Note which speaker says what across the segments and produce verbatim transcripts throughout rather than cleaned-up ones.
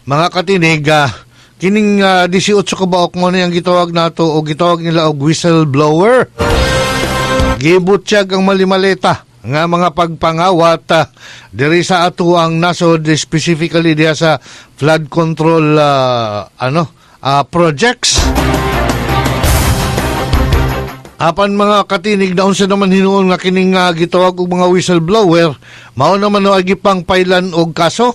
Speaker 1: Mga katinig, ah, kining uh, eighteen kabuok mo na yung gitawag nato o gitawag nila og whistleblower. Gibutyag ang malimaleta nga mga pagpangawat uh, diri sa ato ang nasod, specifically diha sa flood control ah, ano ah, projects. Apan, mga katinig, naunsa naman hinuon nga kining uh, gitawag og mga whistleblower, mao naman no ay gipang pailan og kaso.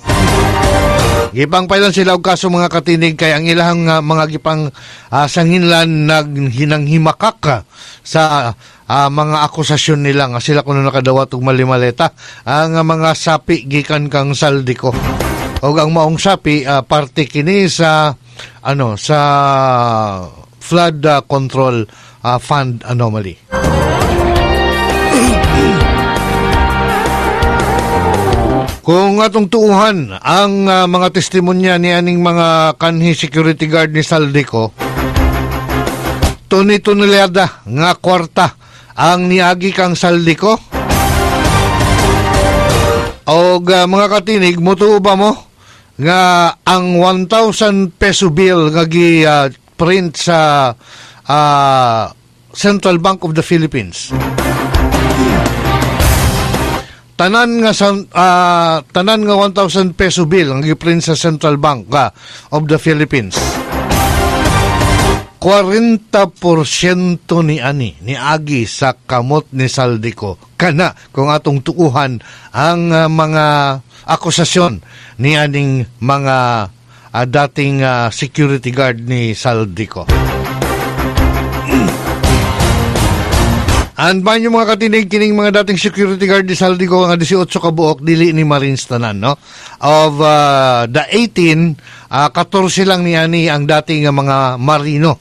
Speaker 1: Gipang pailan sila og kaso, mga katinig, kay ang ilang uh, mga gipang uh, sanginlan naghinanghimakak ah, sa ah, mga akusasyon nila nga sila kuno nakadawat og malimaleta ang uh, mga sapi gikan kang Zaldy Co. Og ang maong sapi ah, parte kini sa ano sa flood ah, control ah, fund anomaly. Kung atong tuuhan ang ah, mga testimonya ni aning mga kanhi security guard ni Zaldy Co, toni tonelada nga kwarta ang niagi kang Zaldy Co. Og ah, mga katinig, mutuo ba mo nga ang one thousand peso bill nga gi ah, print sa ah, Central Bank of the Philippines, tanan nga sa ah, tanan nga one thousand peso bill ang giprint sa Central Bank ah, of the Philippines, forty percent ni ani ni agi sa kamot ni Zaldy Co, kana kung atong tuuhan ang ah, mga akusasyon ni aning mga ah, dating ah, security guard ni Zaldy Co? And man yung mga katinig, kining mga dating security guard ni Zaldy Co nga eighteen kabuok, dili ni Marines tanan, no? Of uh, the eighteen, uh, fourteen lang ni ani ang dating nga mga marino.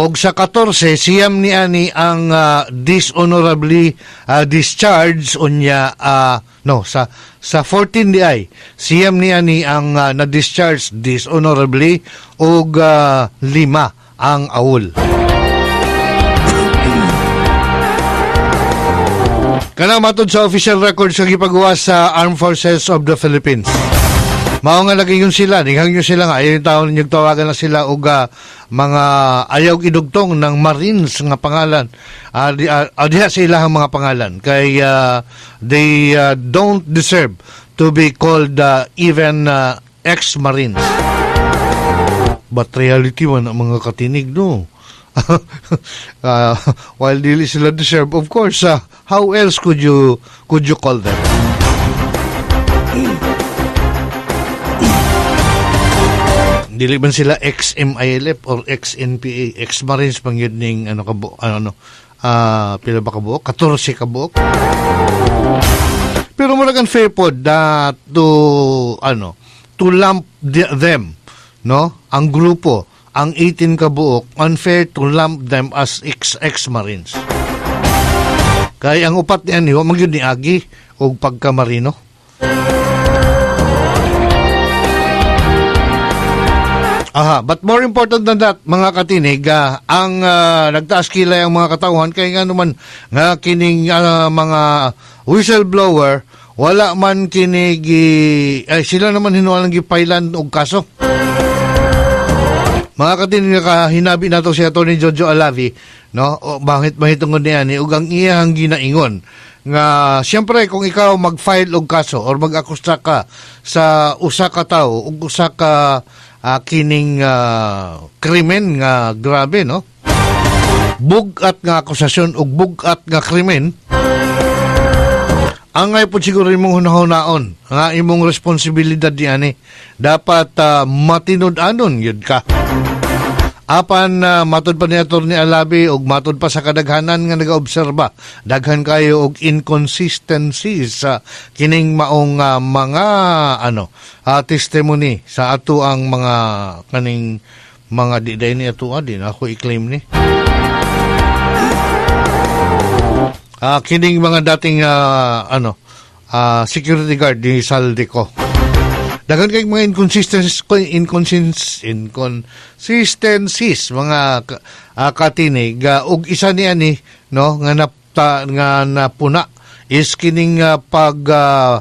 Speaker 1: Og sa fourteen, siyam ni ani ang uh, dishonorably uh, discharged unya, uh, no, sa sa fourteen di ay siyam ni ani ang uh, na-discharge dishonorably og uh, lima ang awol. Kana matod sa official records nga gipagawa sa Armed Forces of the Philippines. Mao nga lagi yun sila, ninghang yun sila nga ayaw yung taon ninyo tawagan na sila og ah, mga ayaw idugtong ng Marines nga pangalan. Uh, di, uh, diha sa ilahang mga pangalan kay ah, they ah, don't deserve to be called ah, even ah, ex-Marines. But reality man ang mga katinig, no? uh, while dili sila deserve, of course, uh, how else could you could you call them? Dili man sila ex-M I L F or ex-N P A, ex-Marines pang yun ning ano kabo, ano, ano ah, pila ba kabuok? fourteen kabuok. Pero murag unfair pod na to ano, to lump the- them, no? Ang grupo, ang eighteen kabuok, unfair to lump them as ex ex-Marines. Kaya ang upat niyan, wa man gyud ni agi og pagkamarino. Aha, but more important than that, mga katinig, ah, ang ah, nagtaas kilay ang mga katawhan kay nga naman nga kining ah, mga whistleblower wala man kini gi- ay, sila naman hinualang gipailan og kaso. Mga katinig, hinabi nato si Attorney Jojo Alavi, no? O, bakit mahitungod niya ni ug ang iyang ginaingon nga siyempre kung ikaw mag-file og kaso or mag-akusta ka sa usa ka tawo ug usa ka ah, kining ah, krimen nga grabe, no, bug-at nga akusasyon ug bug-at nga krimen, ang ay po siguro imong hunahunahon nga imong responsibilidad diani dapat uh, matinud-anon yun ka. Apan uh, matod pa ni Attorney Alabi ug matod pa sa kadaghanan nga nagaobserba, daghan kayo og inconsistencies sa kining maong uh, mga ano uh, testimony sa ato ang mga kaning mga di day ni ato, ah, di na ako i-claim ni. Ah, kining mga dating ah, ano ah, security guard ni Zaldy Co. Daghan kay mga inconsistencies, inconsist inconsistencies mga uh, katinig, uh, ug isa ni ani, no, nga napta, nga napuna is kining uh, pag uh,